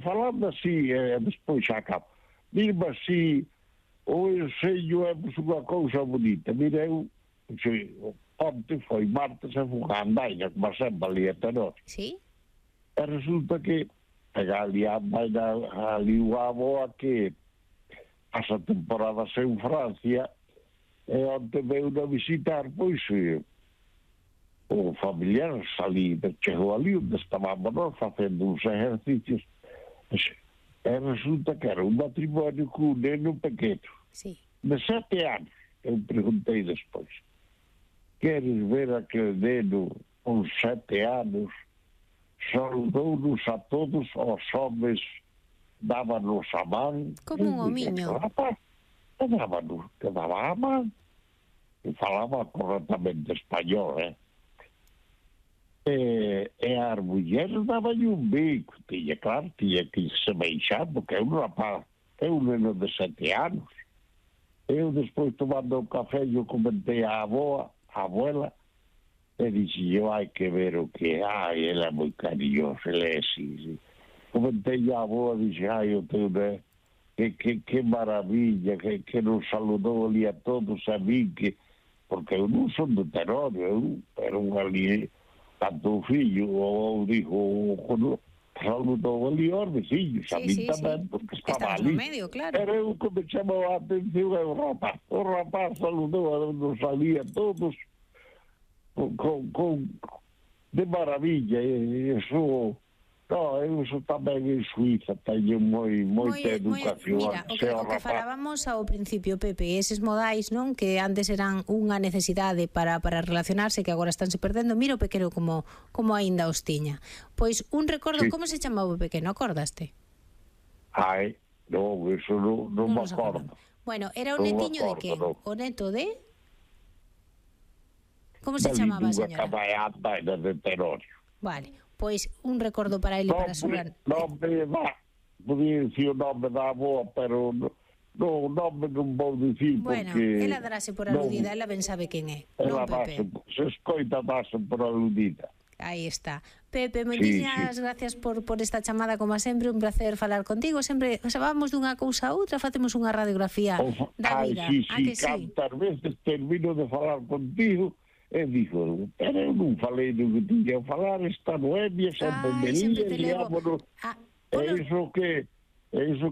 falando así, despois xa acabo. Dime así, o enseño é unha cousa bonita. Mira, eu, onte foi martes e fui a Andaina, como sempre, ali a Tenor. Sí? E resulta que pega ali a Andaina, ali unha aboa que pasa temporadas en Francia, e onte veio a visitar, pois, o familiar salí, chegou ali onde estábamos nós facendo uns exercicios, e resulta que era un matrimonio con un neno pequeno, Sí. de 7 anos. Eu preguntei despois, queres ver aquele neno con 7 anos, saudou-nos a todos, aos homens, dábanos a man. Como un homiño. Rapaz, dábanos, que daba a man. E falaba correctamente español, E as mulleres daban un bico, claro, tiña que se beixar, porque é un rapaz, é un neno de 7 anos. Eu despois tomando o café, eu comentei a abuela, e dixi, eu hai que ver o que é, ele é moi cariñoso, ele é así. Comentei a aboa, dixi, eu tenho, que maravilla, que nos saludou ali a todos, a mí, porque eu non son de Tenor, eu era un ali, tanto o fillo, ou dijo, saludou ali aos veciños, a mí tamén, porque estaba ali. Medio, claro. Era eu que me chamou a atención, o rapaz saludou, nos ali a todos, de maravilla, e eso... No, eu sou tamén en Suiza, teño moita educación. Mira, o que falábamos ao principio, Pepe, eses modais, non, que antes eran unha necesidade para relacionarse, que agora estánse perdendo, mira o pequeno como aínda os tiña. Pois un recordo, sí. Como se chamaba o pequeno, acordaste? Non, eso non me acordo. Bueno, era o netiño de que? O neto de... Como se chamaba a señora? Caballata de Tenorio. Vale. Pois un recordo para ele para Solán. Podía dicir o nome da aboa, pero o nome non vou dicir porque... Bueno, ela darase por aludida, ela ben sabe quen é. Ela se escoita darase por aludida. Aí está. Pepe, moitísimas gracias por esta chamada, como sempre, un placer falar contigo. Sempre vamos dunha cousa a outra, facemos unha radiografía da vida. Cantas veces termino de falar contigo, e dixo, pero eu non falei do que tiña a falar, esta Noemia, sempre me lía, liámonos, iso que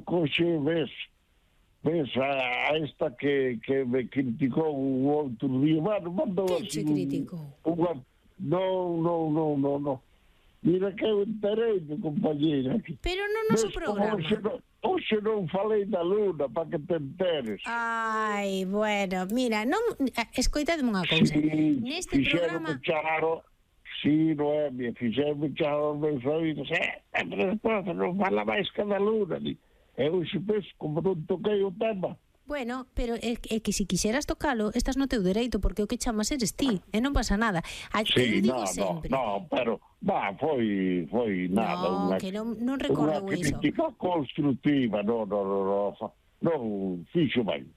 coxe ves a esta que me criticou o outro día, mandou así... Que che criticou? Non. Mira que eu enterei, compañeira. Pero non no noso programa. Hoxe non falei da Luna, para que te enteres. Ai, bueno, mira, escoitadme unha cousa. Neste programa... Noemia, fixerme charo os meus oídos. Pero despois non fala máis que da Luna. Eu xe penso, como non toquei o tema. Bueno, pero é que se quixeras tocalo, estás no teu dereito, porque o que chamas eres ti, e non pasa nada. Sí, pero foi nada. No, que non recordo iso. Unha crítica constructiva, non fixo ben.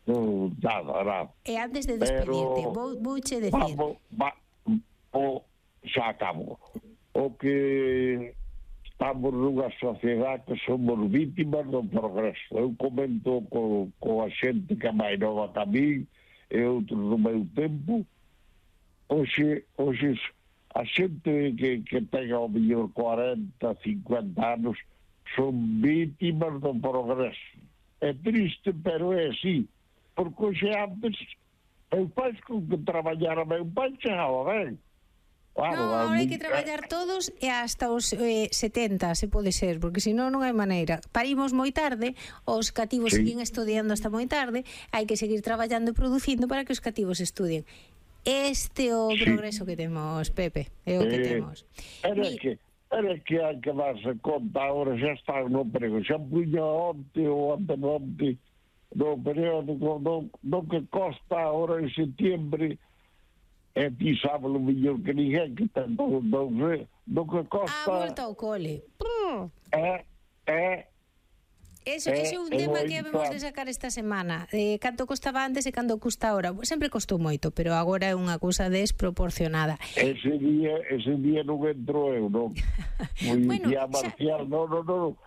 Non, nada. E antes de despedirte, vouche decir... Xa acabo. O que... Estamos nunha sociedade que somos vítimas do progreso. Eu comento con a xente que é máis nova que a mí e outros do meu tempo. Hoxe a xente que ten ao mellor 40, 50 anos son vítimas do progreso. É triste, pero é así. Porque hoxe antes eu pais con que traballara meu pai chegaba ben. Claro, agora hai que traballar todos e hasta os 70, se pode ser, porque senón non hai maneira. Parimos moi tarde, os cativos siguen estudiando hasta moi tarde, hai que seguir traballando e producindo para que os cativos estudien. Este é o progreso que temos, Pepe, é o que temos. Era que hai que darse conta, agora xa está no prego, xa puña onte ou antemonte no periódico, no que costa agora en setiembre. E ti sábalo mellor que ninguén que ten do que costa... volta ao cole. Ese é un tema que habemos de sacar esta semana. Canto costaba antes e canto custa agora. Sempre costou moito, pero agora é unha cousa desproporcionada. Ese día non entro eu, non? Bueno, Marcial, non.